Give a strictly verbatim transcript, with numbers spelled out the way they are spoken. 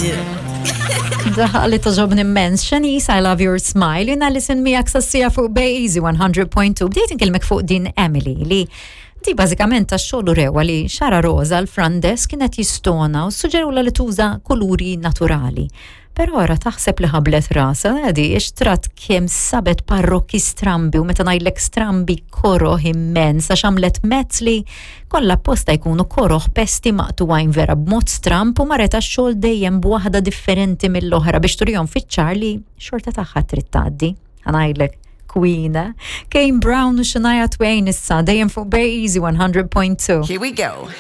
do. Daħqa li togħġobni immens. Shanice, I Love Your Smile. Jiena Alison miegħek sas-siegħa fuq Bay Easy one hundred point two. Bdejt inkellmek fuq din Emily li di bażikament tax-xogħol urewa li xagħarha roża, l-front desk kienet jistona u suġġerula li tuża kuluri naturali. Però ora taħseb li ħablet rasha, għadi, xtrat kemm sabet parrokki strambi, u meta ngħidlek strambi, koroh immens, għax għamlet mezz li kollha apposta jkunu koroh, pesti maqtugħin vera b'mod stramp, u marret għax-xogħol dejjem b'waħda differenti mill-oħra biex turihom fiċ-ċar li xorta tagħha trid tgħaddi. Ħa ngħidlek, Queen. Kane Brown u Shania Twain issa dejjem fuq Bay Easy one hundred point two. Here we go.